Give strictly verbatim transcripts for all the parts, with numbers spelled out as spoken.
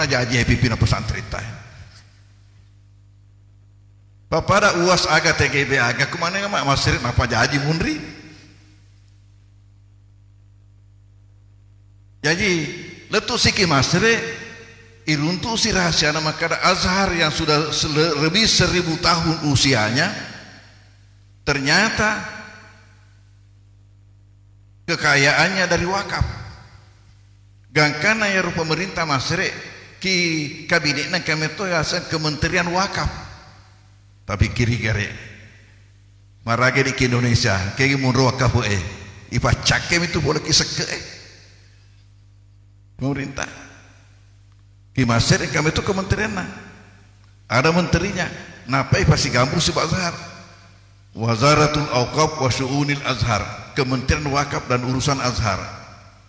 jaji e pimpinang pesantren ta. Pappada uas aga T G B aga, kumanenga ma-, Masere napajaji munri. Jaji, lettu siki Masere, iruntusi rahasiana makkada Azhar yang sudah sele-, lebih seribu tahun usianya, ternyata kekayaannya dari wakaf. Gangkanna iyaro pemerintah Masere, ki kabinetna engka metto yaseng Kementerian Wakaf. Tapi kiri gare. Marage di ki Indonesia, kegi munro wakaf e. Ipaccakke mitu pole ki sekke e. Pemerintah. Ki Masere engka metto kementerianna. Ada menterinya. Napai pasigambu si Azhar. Wazaratul Auqaf wa Syu'unil Azhar, Kementerian Wakaf dan Urusan Azhar.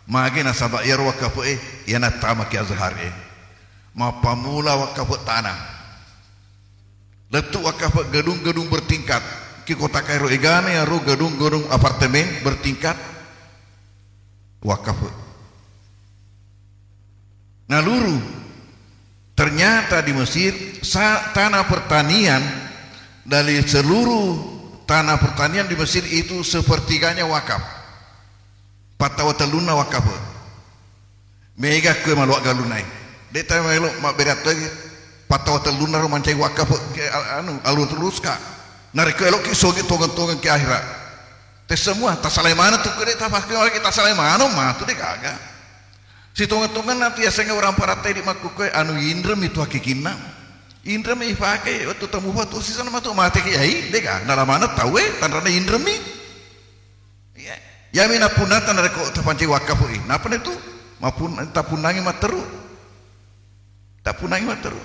Magi nasaba iyaro wakaf e, iyana tama ki Azhar e. Mappamula wakaf tanah. Lettu wakaf gedung-gedung bertingkat. Ki kota Kairo egana iyaro gedung-gedung apartemen bertingkat. Wakaf. Naluru, ternyata di Mesir, sa-, tanah pertanian dari seluruh tanah pertanian di Mesir itu sepertiganya wakaf. Pattawa tellunna wakaf. Mega kue maluak galunai. De' tahu melo mabbere atau pattawa tellunna ro mancai wakaf ke, anu, alur terus ka. Narekko eloki sogi tongeng-tongeng ke akhirat. Te semua, tasalai mana tu kue de' tapake lagi, tasalai mana matu de' gaga. Sitonga-tonganna tu yasengnge orang paratai di makkukkoe anu inremi tu hakikinna. Inremi ifake wettu tamupa tu sisana matu mate ki ai, dega nalamana tauwe tanrana inremi. Iya. Yami napunnata narekko tapancai wakkafu i. Napa tu? Mapun-, tapunnangi matteru. Tapunnangi matteru.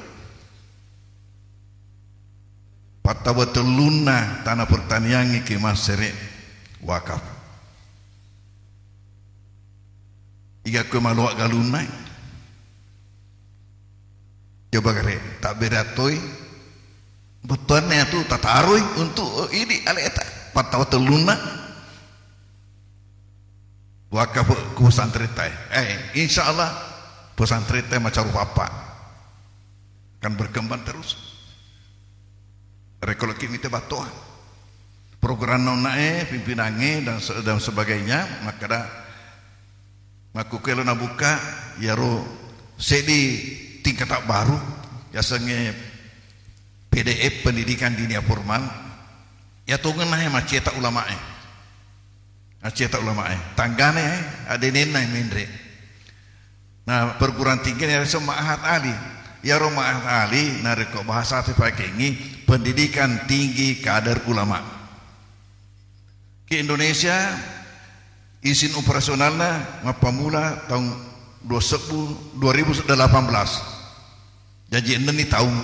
Pattawa tellunna tana pertaniangnge ke Masere wakaf. Iga kue maloa galunna. Coba gare, tabbere attoi. Bettuanna tu tataroi untuk idi aleta. Pattawa tellunna. Wakaf ku pesantren tai. Eh, insya Allah pesantren tai macaru papa. Akan berkembang terus. Rekoloki mite battoa. Program nonnae, pimpinangnge dan se-, dan sebagainya, makkada makkukkue lo nabuka yaro seddi tingkata baru yasengnge P D F, pendidikan diniyah formal. Yatongenna e macceta ulamae. Macceta ulamae. Tanggana e adenenna e menre. Nah, perguruan tinggi ni yasengnge Ma'had Ali. Yaro Ma'had Ali narekko bahasa te pakengi pendidikan tinggi kader ulama. Ke Indonesia izin operasionalna mappamula taung dua sebbu, dua ribu delapan belas. Jaji ennenni taung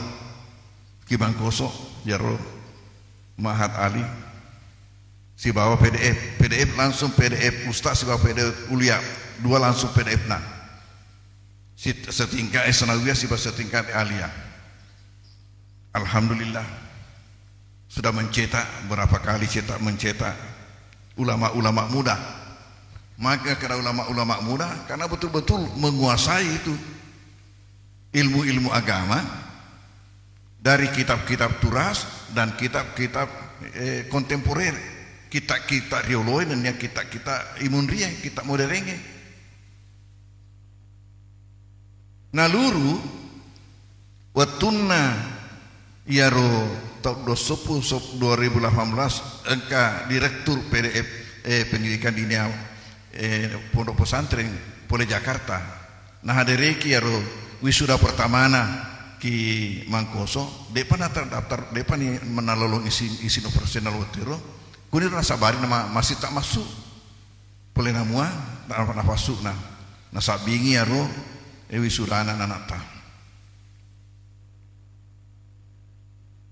ki Mangkoso yaro Ma'had Ali sibawa P D F. P D F langsung P D F Ustaz sibawa P D F Ulia. Dua langsung P D F na. Sit-, setingkat, eh, Sanawiyah sibawa setingkat Aliyah. Alhamdulillah. Sudah mencetak, berapa kali cetak, mencetak ulama-ulama muda. Maka kena ulama-ulama muda karena betul-betul menguasai itu ilmu-ilmu agama dari kitab-kitab turas dan kitab-kitab, eh, kontemporer, kitab-kitab rioloe dan yang kitab-kitab imunrie, kitab modernge. Naluru wettunna iyaro taung dua sebbu sop-, dua ribu delapan belas engka direktur P D F, eh, pendidikan diniyah, eh, pondok pesantren pole Jakarta. Nahadereki iyaro wisuda pertamana ki Mangkoso, de'pa naterdaftar, de'pa ni menalolong isin, isin operasional wettu ero. Kuniro nasabari nama masih tak masuk. Pole namua, na-, nafassu'na. Nasabbingi iyaro, eh, wisudana nana'ta.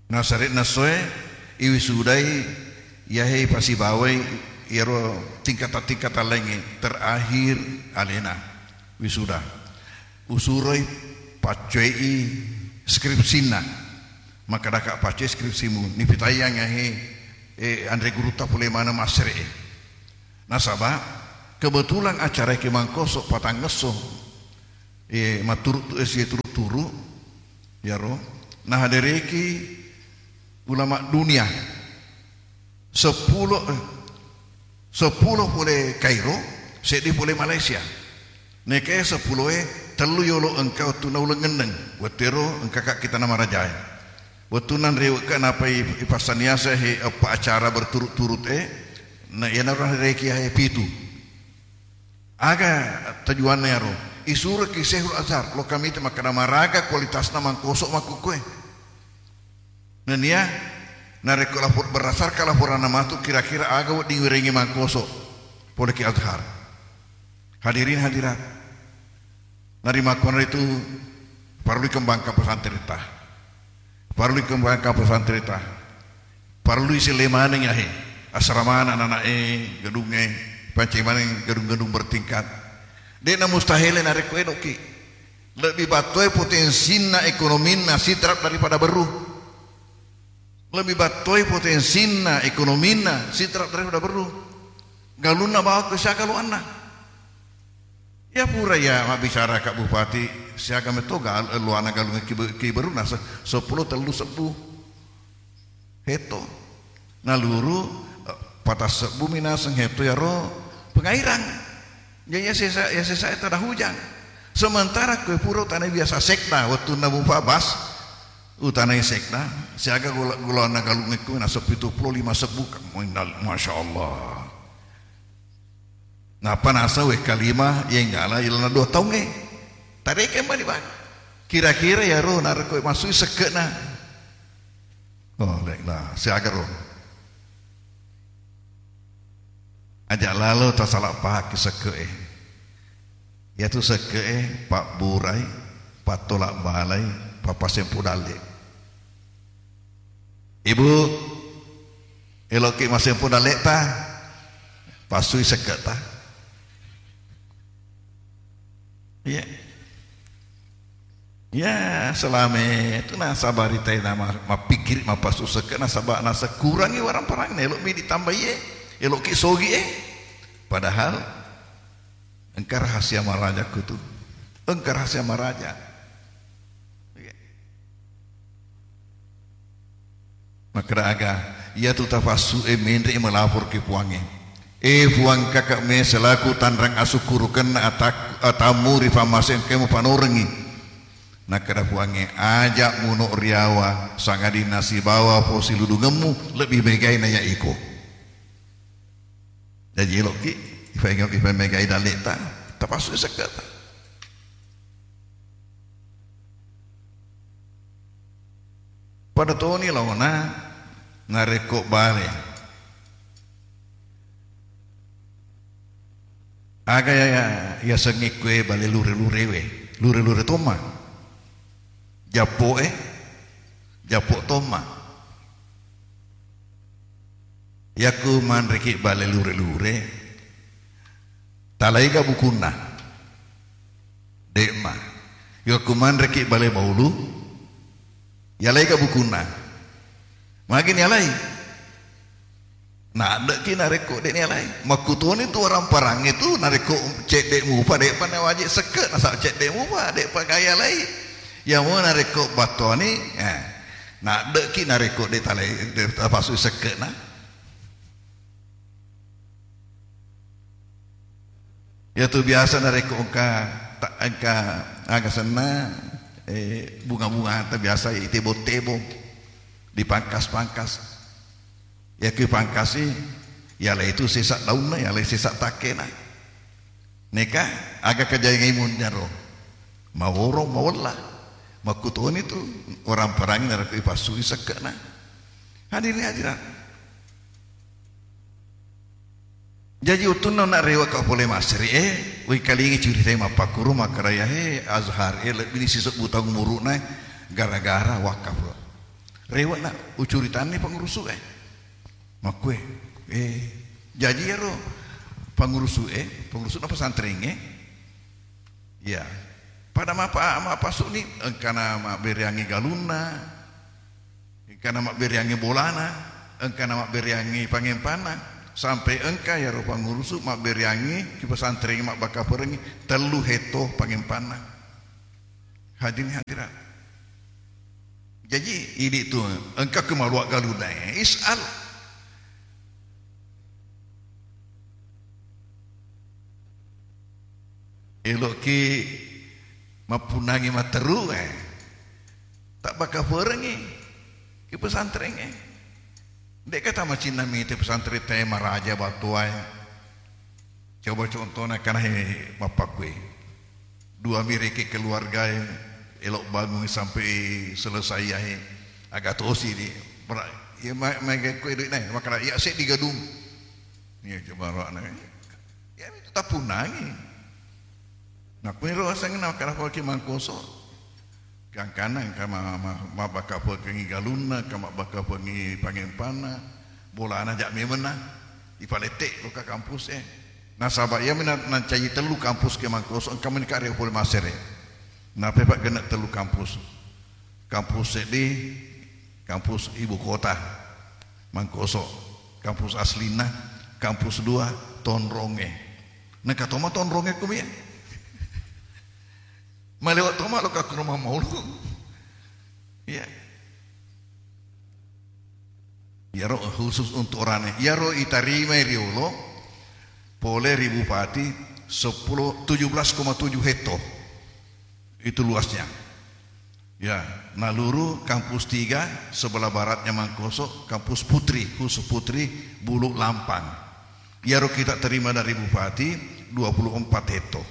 Nasare'na soe, iwisudai, iyahe ipasibawai, iyaro tingkata-tingkata laingnge, terakhir alena wisuda. Usuroi paccoei skripsinna. Makkedaka, "Paccoi skripsimu, nipitaiyangngi ahe, eh, anre gurutta pole maneng massere'e." Nasaba kebetulan acara ki Mangkoso patangngesso, eh, maturu-, eh, situru turu, iyaro nahadereki ulama dunia. Seppulo, eh, seppulo pole Kairo, seddi pole Malaysia. Nekae seppuloe, tellu yolo engka wettunna uleng enneng, wettero engka ka kita namarajae. Wettunna nrewekka napai ipassaniasa he eppa acara berturut-turut e, na iyanaro nahadereki he pitu. Aga tujuanna iyaro? Isureki Syekhul Azhar, lo kami te makkeda maraga kualitasna mangkoso makkukkue. Nennia narekko lapor-, berdasarkan laporanna matu kira-kira aga wedding wirengi mangkoso pole ki Azhar. Hadirin hadirat, narimakkuanaritu parellu ikembangkan pesantren ta. Parellu ikembangkan pesantren ta. Parellu iselle maneng yahe asramana anak-anak e, gedung e, pancai maneng gedung-gedung bertingkat. De'na mustahil narekko edoki. Lebbi battoe potensinna ekonominna Sidrap daripada Berru. Lebbi battoe potensinna ekonominna Sidrap daripada Berru. Galunna bawang ke siaga luanna. Ya pura ya mabbicara Kak Bupati, siaga metto gal-, luana galung ki, ki Berru nase-, seppulo tellu sebbu hetto. Naluru, eh, patassebbu minaseng hetto yaro pengairang. Ya, ya sesa, ya sesa tada hujang. Sementara kue pura utanai biasa sekda, wettunna mupa bas, utanai sekda, siaga gula-, gulana galung ekku nase pitu pulo lima sebbu, Kak. Masya Allah. Nappa naseng wekka lima yenggala ilana dua taungnge. Tareke mani bang. Kira-kira yaro narekko masui sekke'na. Oh, baiklah, siaga ro. Aja lalo tasala pahaki sekke'e. Yatu sekke'e pabburai, pattolak balai, papasempu dalle. Ibu, eloki masempu dalleta, pasui sekke'ta. Iya. Ya, selame itu nasabari tai nama mappikiri mappasu sekke'na saba nasekurangi warang parang elo mi ditambai e, eloki sogi e. Padahal engka rahasia maraja kutu. Engka rahasia maraja. Iya. Makkeda aga, iyatu tafassu'e menre'i malapor ki Puangnge. E Puang, kakak me selaku tanrang asukkurukenna atak-, atammu ri pammasengkemu panorengngi. Nakkeda Puangnge, aja muno riawa, sangadinna sibawa posiludungemmu lebbi megai na ya iko. Jaji eloki, ifa-, ifamegai dalle'ta, tapassu sekke'ta. Pada toni laona narekko bale. Aga ya, ya, yasengnge kue bale lure-lurewe, lure-lure tomma. Jappo'e, jappo tomma. Yakku manreki bale lure-lure, talaiga bukunna? De'ma. Yakku manreki bale maulu, yalaiga bukunna? Magi nialai? Nadde'ki narekko de' nialai. Makkutoni tu warang-parangnge tu narekko cedde' mupa de'pa nawaji sekke', nasaba cedde' mupa de'pa gayalai. Yamo narekko battoani, eh, nadde'ki narekko de' talai, de' tapasui sekke'na. Iyatu biasa narekko engka ta-, engka aga senna, eh, bunga-bunga ta biasa itebong-tebong, dipangkas-pangkas. Yakku ipangkasi, yalai tu sesa daunna, yalai sesa takkena. Neka aga kajaingai munyaro? Maworo, mawella. Makkutoni tu orang perangi narekko ipassui sekke'na. Hadirin hadirat. Jaji wettunna na rewe' ka pole Masri e, wei kalingi curitai mappakkuru makkeda yahe Azhar e lebbini sisebbu taung umuru'na gara-gara wakaf. Rewe'na ucuritanni pangurusu e. Makkue, eh, jaji ero pangurusu e, pangurusu'na pesantren e, iya, pada mapa-, mapasuni engkana mabbereangi galunna, engkana mabbereangi bolana, engkana mabbereangi pangempanna, sampai engka yaro pangurusu mabbereangi ki pesantren mabbakkaperengi tellu hetto pangempanna. Hadirin hadirat. Jaji, idi tu, engka ke maluak galuna, eh, is'al. Eloki mappunangi matteru, eh, tabbakafuerengngi ki pesantrengnge. De'ka tamacinna mite pesantren te maraja batuae. Coba contohna kanahe mappakkue. Dua mi rekeng keluargae, elo bangung sampai selesai yae. Aga tosi di. Mera-, iya ma-, maega kue duit nae, makana iya seddi gadung. Iya coba roakna. Iya itu tapunangi. Nakkuniro asenna makana ki Mangkoso. Gangkanna engka ma-, ma-, mabbakafuekkengngi galunna, engka mabbakafuengngi pangempanna, bolana ja memenna, ipalette loka kampus e. Nasaba iyami na-, nancaji tellu kampus ke Mangkoso, engka menikah ri pole masere. Napepa genne tellu kampus. Kampus seddi, kampus ibu kota, Mangkoso. Kampus aslinna, kampus dua, Tonronge. Nengka toma Tonronge kumie. Malewa toma lo ka Kurma Maulu. Iya. Iyaro khusus untuk orane. Iyaro itarimai riolo pole ri Bupati sepuluh, tujuh belas koma tujuh hekto. Itu luasnya. Ya, Naluru kampus tiga sebelah baratnya Mangkoso, kampus Putri, khusus Putri, Bulu Lampang. Iyaro kita terima dari Bupati dua puluh empat hekto.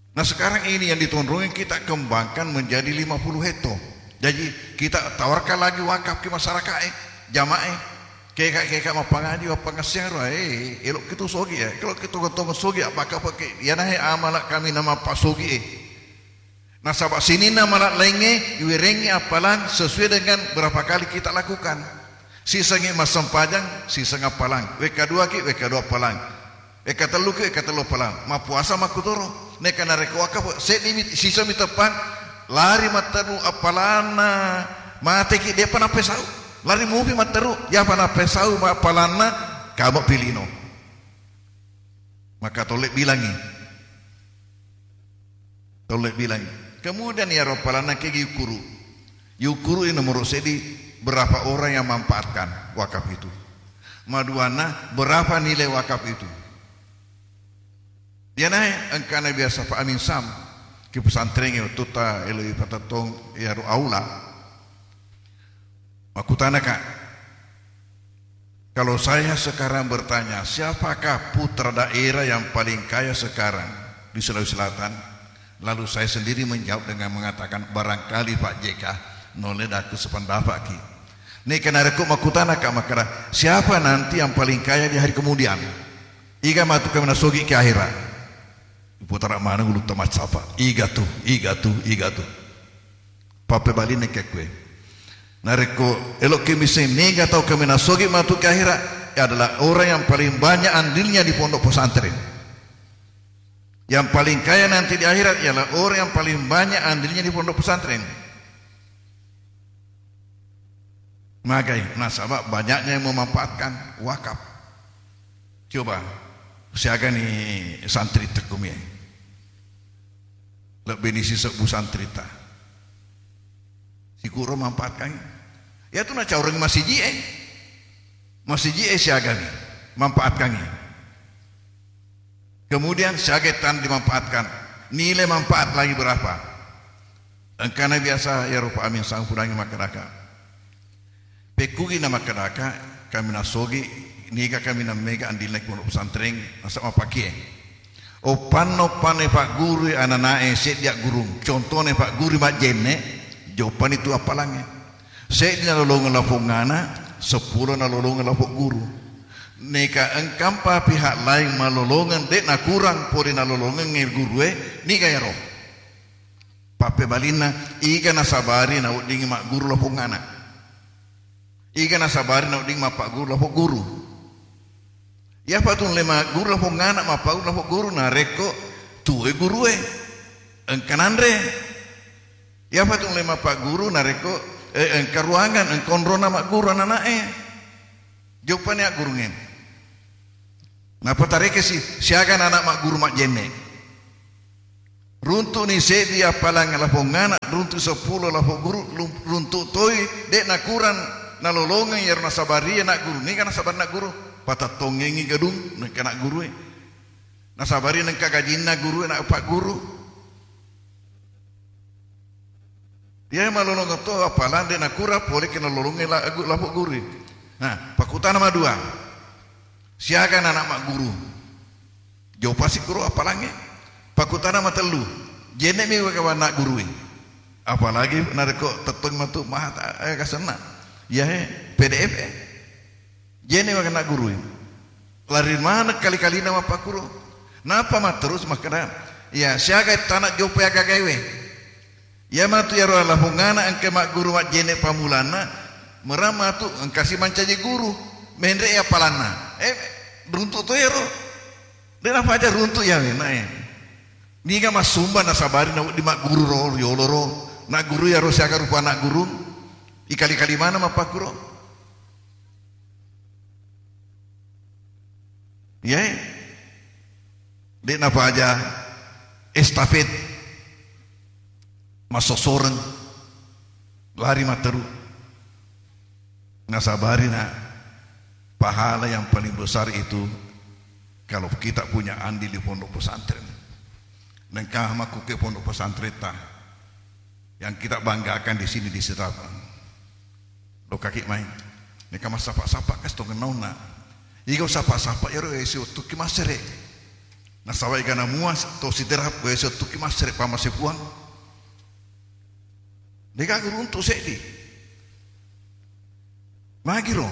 Nah, sekarang ini yang di Tonronge kita kembangkan menjadi lima puluh hekto. Jadi, kita tawarkan lagi wakaf ke masyarakat, eh, jamaah, eh. Keka-keka mappangaji, mappangassiang ro, eh, elok kitu sogi, eh. Kalau kitu tongeng sogi, apa kapa ke, ya nah, eh, amala kami nama Pak sogi, eh. Nasaba sininna mala laingnge, iwerengngi appalang sesuai dengan berapa kali kita lakukan. Sisengngi massempajang, siseng appalang. Wekka dua ki, wekka dua appalang. Wekka tellu ki, wekka tellu appalang. Mappuasa makkutoro. Neka narekko wakaf, seddi mi, sisa mi teppang, lari matteru appalanna, mate ki, depa nappesau. Lari mupi matteru, yapa nappesau ma appalanna, kamo pilino. Maka tolle bilangi. Tolle bilang. Kemudian iyaro appalanna kegi yukuru. Yukuru nomor seddi, berapa orang yang manfaatkan wakaf itu. Maduanna, berapa nilai wakaf itu. Iyanae engkana biasa Pak Amin Sam ki pesantrengnge, wettutta eloi patettong iyaro aula. Makkutanaka, kalau saya sekarang bertanya, siapakah putra daerah yang paling kaya sekarang di Sulawesi Selatan? Lalu saya sendiri menjawab dengan mengatakan, barangkali Pak J K, nolle daku sependapat ki. Neka narekko makkutanaka makkada, siapa nanti yang paling kaya di hari kemudian? Iga matu kami nasogi ke akhirat. Iputara maneng ulutta maccapa. Iga tu, iga tu, iga tu. Pappebalinna kekkue. Narekko eloki misseng mega tau kaminang sogi matu ke akhirat, adalah orang yang paling banyak andilnya di pondok pesantren. Yang paling kaya nanti di akhirat ialah orang yang paling banyak andilnya di pondok pesantren. Magai, nasaba banyaknya yang memanfaatkan wakaf. Coba, siaga ni santri tekkumie. Lebbi ni sisebbu santrita. Sikuro manfaatkan. Iyatu nacaureng masiji e. Masiji e siaga ni. Manfaatkan ni. Kemudian siaga tan dimanfaatkan. Nilai manfaat lagi berapa? Engkana biasa ya rupa amin sang pudangi makkadaka. Pekkugi namakkedaka, kami nasogi, niga kami nammega andilna pondok pesantren, nasaba mappakie. Oppanna-oppanna paggurui ananae seddi aggurung, contona pagguru majjenne, joppani tu appalangnge. Seddi nalolongeng lapongngana, seppulo nalolongeng lapong guru. Neka engkampa pihak lain malolongeng, de nakurang pole nalolongengnge gurue, niga ero. Pappebalinna, iga nasabari naweddingngi magguru lapongngana. Iga nasabari nawedding mappagguru lapong guru. Iyapa tu le magguru lapongngana, mappagguru lapong guru, narekko tuwe gurue, engka nanre. Iyapa tu le mappagguru, narekko, eh, engka ruangan, engka onrona magguru ananae. Joppani aggurungnge. Nappa tarekesi, siaga anak magguru majjenne. Runtu'ni seddi appalang lapongngana, runtu seppulo lapo guru, lum-, runtu' toi, de' nakurang nalolongeng iyaro nasabari anak guru, niga nasabari anak guru, patettongengngi gedung, nengka anak gurue. Nasabari nengka gajinna gurue, anak pagguru. Iya malolongeng to appalang de' nakurang pole ke nalolongeng la-, lapo guru. Nah, pakkutana madua. Siaga anak magguru? Jopasi kuro appalangnge. Pakkutana matellu. Jene'mi wega anak gurue. Apalagi narekko tettong matu maha ta-, eh, kasenna. Iyahe P D F e. Jene'mi wega anak gurue. Lari maneng kali-kalina mappakkuro. Nappa matterus makkeda, "Iya, siaga tana jopa agagaewe." Iya matu iyaro lapongngana engka magguru majjene' pammulanna, merang matu engkasi mancaji guru, menre' appalanna. Eh, runtu' to iyaro. De' napaja runtu' iya wenna, eh. Niga massumba nasabari nawedding magguru ro, riolo ro. Nagguru iyaro siaga rupa anak guru. Ikali-kali maneng mappakkuro. Iyae. De' napaja estafet, massosoreng, lari matteru. Nasabari na, pahala yang paling besar itu kalau kita punya andil di pondok pesantren. Nengka makkuke pondok pesantren ta. Yang kita banggakan di sini di Sidrap. Lokkaki mai. Neka massapa-sapa kasi tongennaunna. Iga usapa-sapa iyaro wesi wettukki massere. Nasaba egana mua to Sidrap wesi wettukki massere pamase Puang. Degaga runtu' seddi. Magiro.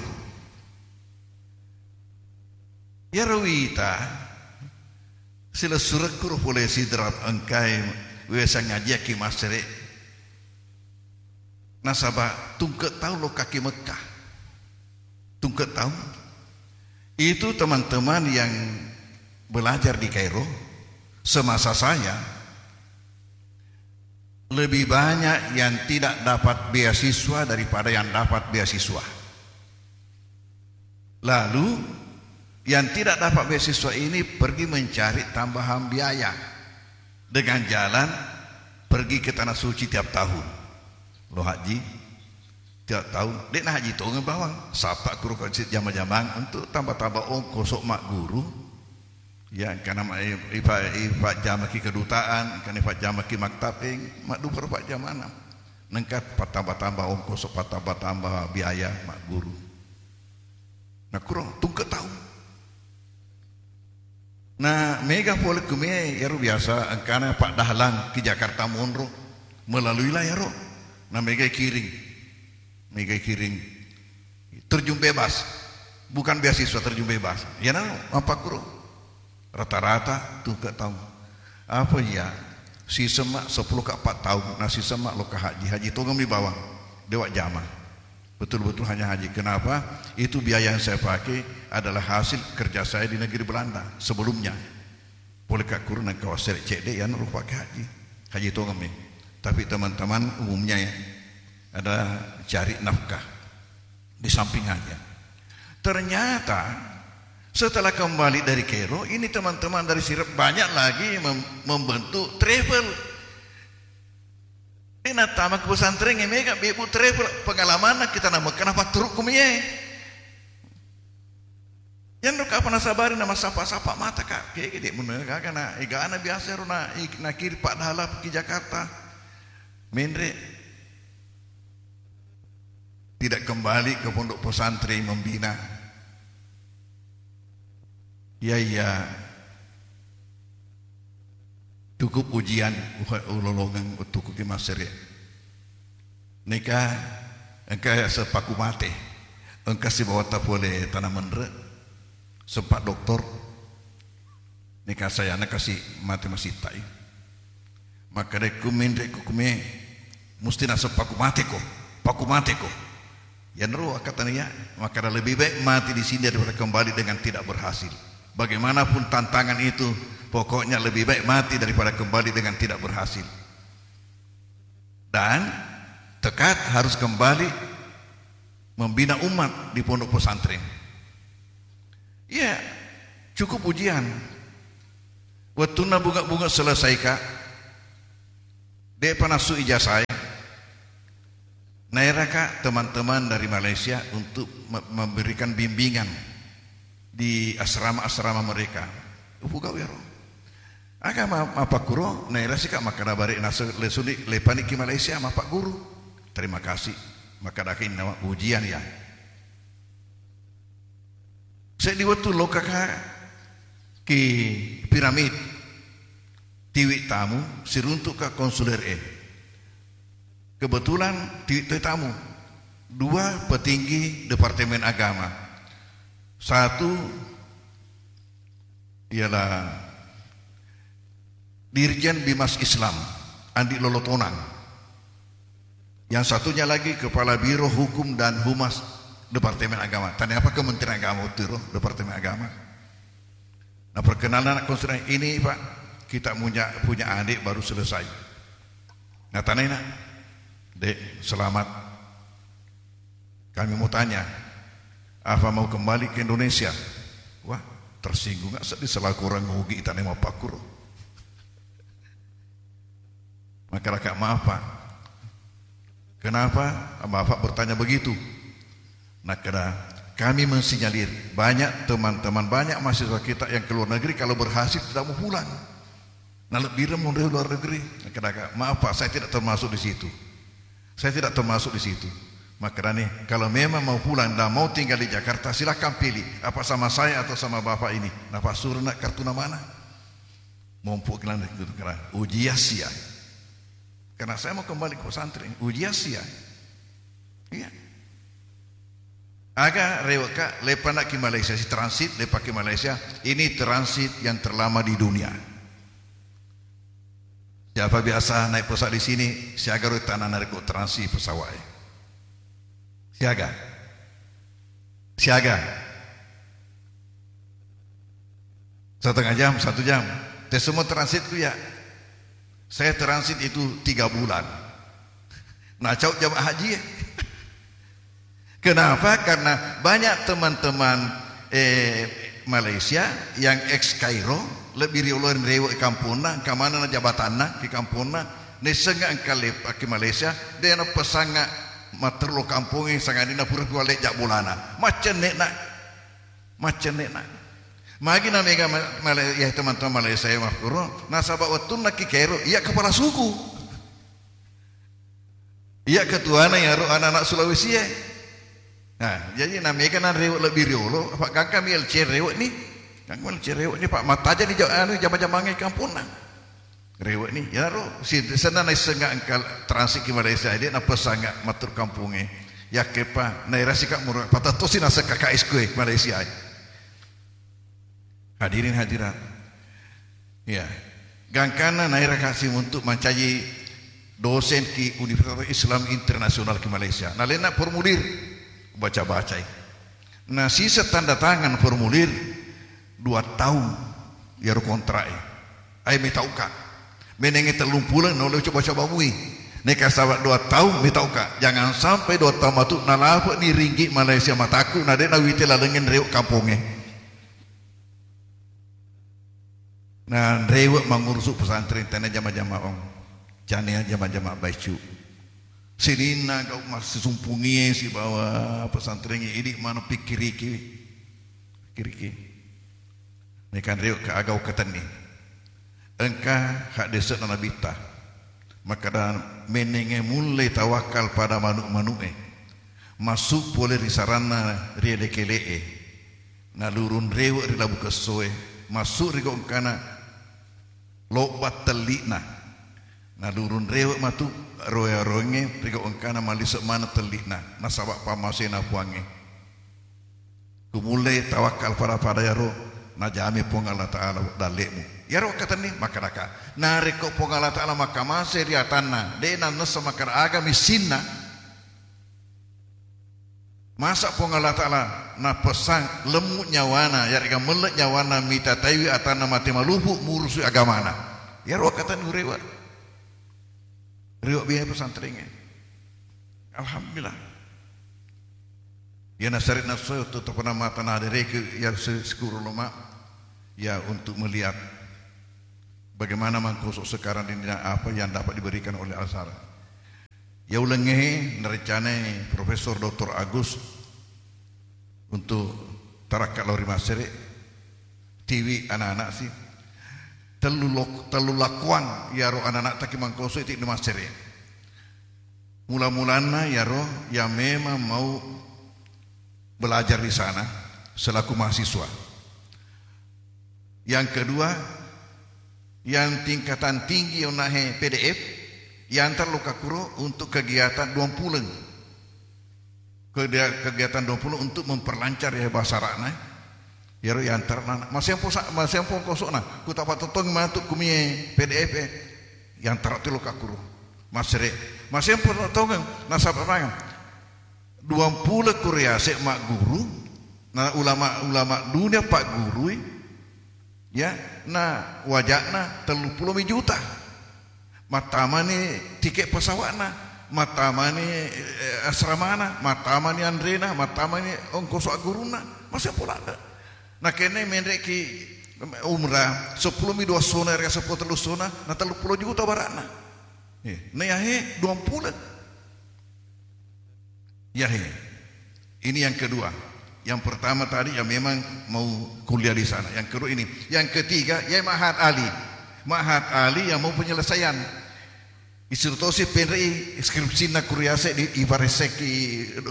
Iyaro wita silessurekku ro pole Sidrap engkai wesa ngajiakki massere. Nasaba tungke' taung lokkaki Mekkah. Tungke' taung. Itu teman-teman yang belajar di Kairo semasa saya lebih banyak yang tidak dapat beasiswa daripada yang dapat beasiswa. Lalu, yang tidak dapat beasiswa ini pergi mencari tambahan biaya dengan jalan pergi ke Tanah Suci tiap tahun. Lo haji tiap tahun, de' na haji tongeng bawang. Sapa kuro ko jama-jamang untuk tambah-tambah ongkos magguru. Ya, karena ma-, ipa-, ipajjamaki kedutaan, karena ipajjamaki maktab, eh, madduparo pajjamana. Nengka patambah-tambah ongkos, patambah-tambah biaya magguru. Nakkuro tungke' taung. Na mega pole kumie iyaro biasa engkana Pak Dahlan ki Jakarta monro, melalui lah iyaro. Na mega kiring. Mega kiring. Terjun bebas. Bukan beasiswa, terjun bebas. Iyana mappakkuro. Rata-rata tungke' taung. Apa iya? Sisemma seppulo ka empat taung, na sisemma lokka haji. Haji tongeng mi bawang. De' wajjama. Betul-betul hanya haji. Kenapa? Itu biaya yang saya pakai adalah hasil kerja saya di negeri Belanda sebelumnya. Pole ka kuru nengka wassere cedde' iyana rupa ke haji. Haji tongeng mi. Tapi teman-teman umumnya ya, ada cari nafkah di samping haji. Ternyata setelah kembali dari Kairo, ini teman-teman dari Sidrap banyak lagi mem-, membentuk travel. Ini nattama ke pesantren, mega bebu travel, pengalaman kita nama kenapa turuk kumie. Yanro kapa nasabari na massapa-sapa mata ka, kege de' menua gaga na egana biasa ro na, nakiri Pak Dahlan ki Jakarta. Menre' tidak kembali ke pondok pesantren membina. Iya, iya. Cukup ujian uha-, ulolongeng wettukku ki massere. Neka engka seppaku mate. Engka sibawatta pole tana menre. Sempat doktor. Neka sayana kasi mate masittai. Makkedakku menre' ku kume, musti naseng paku mateko, paku mateko. Yanro akkatania, makkeda lebih baik mati di sini daripada kembali dengan tidak berhasil. Bagaimanapun tantangan itu, pokoknya lebih baik mati daripada kembali dengan tidak berhasil. Dan tekad harus kembali membina umat di pondok pesantren. Iya, cukup ujian. Wettunna bunga-bunga selesai, Kak. De'pa nassu ijazae, naeraka teman-teman dari Malaysia untuk me-, memberikan bimbingan di asrama-asrama mereka. Upugau ero. Aga ma-, mappakkuro, naerasika makkada bare nasu-, lesuni, lepani ki Malaysia, mappagguru. Terima kasih. Makkadaki nawa ujian ya. Seddi wettu lokkaka ki piramid, tiwi tamu, siruntu'ka konsuler e. Kebetulan tiwi toi tamu, dua petinggi Departemen Agama. Satu ialah Dirjen Bimas Islam, Andi Lolotonang. Yang satunya lagi Kepala Biro Hukum dan Humas Departemen Agama. Tanya apa Kementerian Agama waktu itu, Departemen Agama. Nah, perkenalan anak konsuler ini, Pak, kita punya, punya adik baru selesai. Nah, tanya nak, "Dek, selamat. Kami mau tanya, apa mau kembali ke Indonesia?" Wah, tersinggung nggak sedih selaku orang ngugi tanya mau pakuro. Makkadaka, "Maaf, Pak. Kenapa Bapak bertanya begitu?" Nakkada, "Kami mensinyalir banyak teman-teman, banyak mahasiswa kita yang ke luar negeri kalau berhasil tidak mau pulang. Nalebbireng monro luar negeri." Makkadaka, "Maaf, Pak, saya tidak termasuk di situ. Saya tidak termasuk di situ." Makkedani, "Kalau memang mau pulang dan mau tinggal di Jakarta, silakan pilih apa sama saya atau sama Bapak ini." Napassuro nak kartu namana. Mompo kelan itu kena ujian sia. Karena saya mau kembali ke pesantren, ujian sia. Iya. Aga reweka, lepana ki Malaysia, si transit, lepa ki Malaysia. Ini transit yang terlama di dunia. Siapa biasa naik pesawat di sini, siaga ro tanah narik transit pesawat. Siaga. Siaga. Setengah jam, satu jam. Te semua transit tu ya. Saya transit itu tiga bulan. Nah, cau jamaah haji ya. Kenapa? Karena banyak teman-teman, eh, Malaysia yang ex Kairo, lebih riolo rewe kampungna, kamana na jabatanna, ke kampungna, naissengnga engka lepa ke Malaysia, de na pesanga matterlo kampungnge, sangadinna pura kuale jak bolana. Macenne na, macenne na. Magi na mega ma-, Malay-, ya teman-teman Malaysia ya makkuro, nasaba wettunna ki Kairo, iya kepala suku. Iya ketuana iyaro anak-anak Sulawesi e. Nah, jadi na mega na rewe lebih riolo, apa gangkami L C rewe ni. Gangkami L C rewe ni, Pak, mattaja ni ja-, anu, jama-jamange kampungna. Rewe ni, iyaro, si-, senna naissengnga engka transit ki Malaysia, dia napesanga matur kampunge. Yakkepa, nairasi ka murah, patattosi naseng K K S kue Malaysia. Hadirin hadirat. Ya. Gangkanna naira kasi untuk mancaji dosen ki Universitas Islam Internasional ki Malaysia. Nalenna formulir, baca-bacai. Nah, sisa tanda tangan formulir dua tahun iyaro kontrak e. Ai metauka. Menenge tellung puleng naulle coba-coba mui. Neka saba dua tahun metauka. Jangan sampai dua tahun matu nalape ni ringgit Malaysia mataku na de nawite lalengen rewe kamponge. Na rewe mangurusu pesantren tana jama-jama ong. Canea jama-jama baicu. Sininna gau massisumpungie sibawa pesantren idi mana pikiriki. Pikiriki. Nekan rewe ka agau ketenni. Engka haddese'na nabitta. Makkada, menenge mulle tawakkal pada manu-, manu'e. Massu pole ri saranna ri ele-kele'e. Nalurung rewe ri labu kessoe, massu ri gau engkana lobba telli'na. Nalurung rewe matu roe-roengnge ri gau engkana malise maneng telli'na, nasaba pammasena Puangnge. Kumulle tawakkal pada-pada yaro najami Puang Allah Ta'ala dalle'mu. Yaro wakkatenni makkedaka, narekko Puang Allah Ta'ala makkamase ri atanna, de nannessa makkeda aga missinna, Masa Puang Allah Ta'ala napessang lemmu nyawana, yarega melle nyawana mita taiwi atanna mate malupu murusu agamana. Yaro kata nurewa. Rewa biaya pesantrennya. Alhamdulillah. Ya nasari nasoyo tu topana mata na dereke ya se-, sekuru loma ya untuk melihat. Bagaimana Mangkoso sekarang ini dan apa yang dapat diberikan oleh Al-Azhar. Ya ulengnge narecanai Profesor Doktor Agus untuk tarakka lao ri Masere, tiwi anak-anak si. Tellu lok-, tellu lakuan yaro anak-anak taki Mangkoso itu di Masere. Mula-mulanna yaro yang memang mau belajar di sana selaku mahasiswa. Yang kedua, yang tingkatan tinggi onahe P D F, yang terluka kuro untuk kegiatan dua puluh. Kegiatan dua puluh untuk memperlancar ya bahasa Arabna. Yaro yang ternak, masempo sa-, masempo kosokna, ku tapatotong matu kumie P D F, yang ternak tilo kakuro. Masere, masempo tongeng, nasaba dua puluh kuriase magguru, na ulama-ulama dunia paggurui, ya, na wajakna tellu puluh mi juta. Mattamani tiket pesawatna, mattamani, eh, asramana, mattamani anrena, mattamani ongkoso aggurunna, masih pula ada. Nah, kene menreki umrah, sepuluh mi dua sona, ria sepuluh tellu sona, na tellu puluh juta barakna. Eh, na yahe dua puluh. Yahe. Ini yang kedua. Yang pertama tadi ya memang mau kuliah di sana. Yang kedua ini. Yang ketiga, ya Mahat Ali. Mahat Ali yang mau penyelesaian. Isuru tosi penrei skripsina kuriase di ibareseki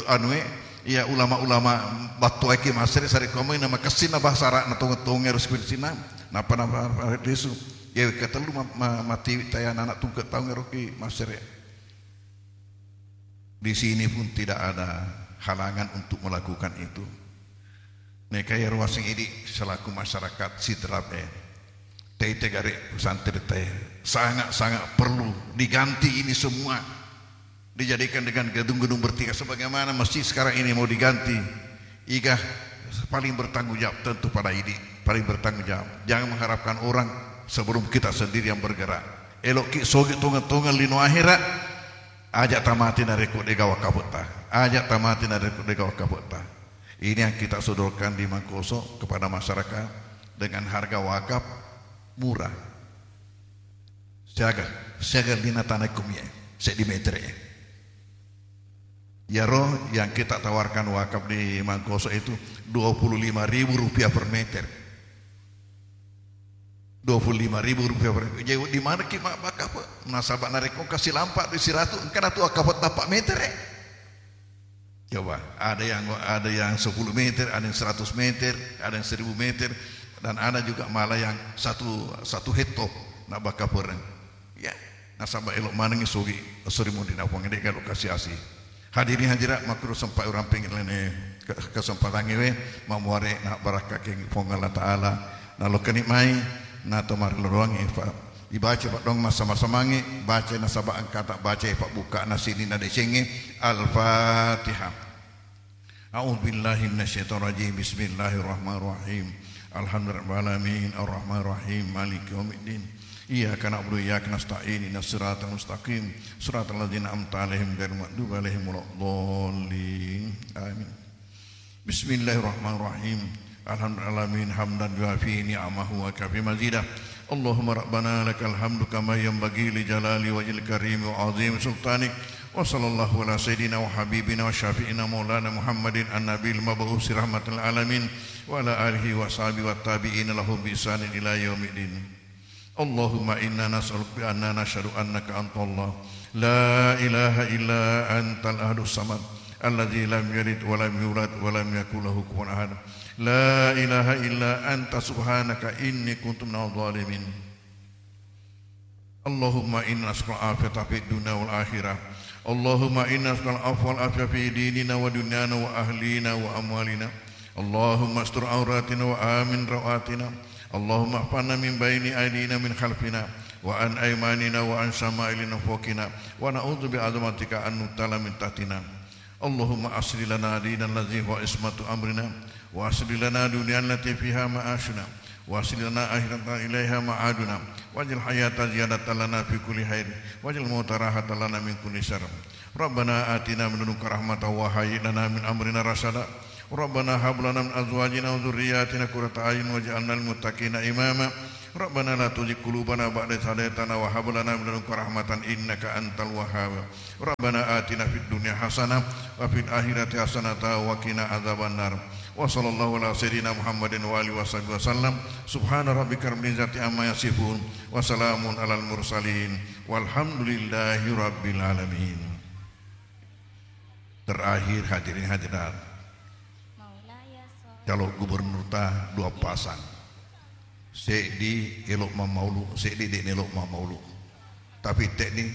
anue, ya ulama-ulama battuaiki masere sare komoi na makessina bahasa Arab na tonge-tonge ro skripsina. Napa napa desu. Ya ketellu ma-, ma-, mati taya anak tungke taung eroki masere. Di sini pun tidak ada halangan untuk melakukan itu. Neka ya ruaseng idi selaku masyarakat Sidrap, eh, tete gare pesantren teh sangat-sangat perlu diganti ini semua, dijadikan dengan gedung-gedung bertingkat sebagaimana masjid sekarang ini mau diganti. Iga paling bertanggung jawab tentu pada idi, paling bertanggung jawab. Jangan mengharapkan orang sebelum kita sendiri yang bergerak. Eloki sogi tonga-tonga lino akhirat, aja tamati narekko dega wakafetta. Aja tamati narekko dega wakafetta. Ini yang kita sodorkan di Mangkoso kepada masyarakat dengan harga wakaf murah. Siaga, siaga lina tanah kumie, seddi meter ya. Yaro yang kita tawarkan wakaf di Mangkoso itu dua puluh lima ribu rupiah per meter. Dua puluh lima ribu rupiah per meter. Jadi di mana ki mak wakaf? Nasaba narekko kasih lampak di siratu, engka tu wakaf tapak meter, eh. Coba, ada yang, ada yang sepuluh meter, ada yang seratus meter, ada yang seribu meter, dan ada juga malah yang satu, satu hekto na bakapereng. Ya, nasaba elok manengi sogi, sori mundina Puang de kalau kasih asi. Hadirin hadirat makro sempat orang pengen lene ke-, kesempatan ngewe mamuare na barakka keng Puang Allah Ta'ala. Na lokeni mai, na tomari loloangi, Pak. Ibaca, Pak, dong, masa-masa mangi, baca nasaba engkata baca, Pak, buka na sini na decengi. Al-Fatihah. A'udzu billahi minasyaitonir rajim. Bismillahirrahmanirrahim. Alhamdulillahirabbil alamin, arrahmanirrahim, maliki yaumiddin. Iyyaka na'budu wa iyyaka nasta'in. Ihdinas siratal mustaqim. Siratal ladzina an'amta 'alaihim ghairil maghdubi 'alaihim waladdallin. Amin. Bismillahirrahmanirrahim. Alhamdulillahirabbil alamin, hamdan yuwafi ni'amahu wa yukafi mazidah. Allahumma rabbana lakal hamdu kama yanbaghi li jalali wajhil karim wa azim sultanik. Wa sallallahu ala sayyidina wa habibina wa syafi'ina maulana Muhammadin an-nabil mab'usi rahmatil alamin wa ala alihi wa sahbihi wa tabi'ina lahu bi ihsanin ila yaumiddin. Allahumma inna nas'aluka bi anna nashhadu annaka antallah, la ilaha illa antal ahadus samad, alladzi lam yalid wa lam yulad wa lam yakul lahu kufuwan ahad. La ilaha illa anta subhanaka inni kuntu minadh dhalimin. Allahumma inna nas'aluka al-afiyata fid dunya wal akhirah. Allahumma inna nas'aluka al-afwa wal afiyata fi dinina wa dunyana wa ahlina wa amwalina. Allahumma astur auratina wa amin rawatina. Allahumma ihfazna min baini aidina min khalfina wa an aimanina wa an syama'ilina fawqina wa na'udzu bi azamatika an nughtala min tahtina. Allahumma aslih lana dinana alladzi huwa ismatu amrina wa aslih lana dunyana allati fiha ma'ashuna wa aslih lana akhiratana ilaiha ma'aduna waj'al hayata ziyadatan lana fi kulli khair waj'al mauta rahatan lana min kulli syarr. Rabbana atina min ladunka rahmatan wa hayyi' lana min amrina rasyada. ربنا هب لنا من أزواجنا وذرياتنا قرة أعين واجعلنا للمتقين إماما. ربنا لا تزغ قلوبنا بعد إذ هديتنا وهب لنا من لدنك رحمة إنك أنت الوهاب. ربنا آتنا في الدنيا حسنة وفي الآخرة حسنة وقنا عذاب النار. وصلى الله على سيدنا محمد وآله وصحبه وسلم. سبحان ربك رب العزة عما يصفون. وسلام على المرسلين. والحمد لله رب العالمين. Terakhir, hadirin hadirat, calon gubernur ta dua pasang. Seddi elo mammaulu, seddi de' nelo mammaulu. Tapi tekni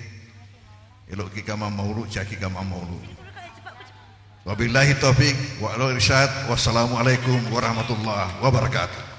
elo kika mammaulu, caki ka mammaulu. Wabillahi taufik wal irsyad. Wassalamualaikum warahmatullahi wabarakatuh.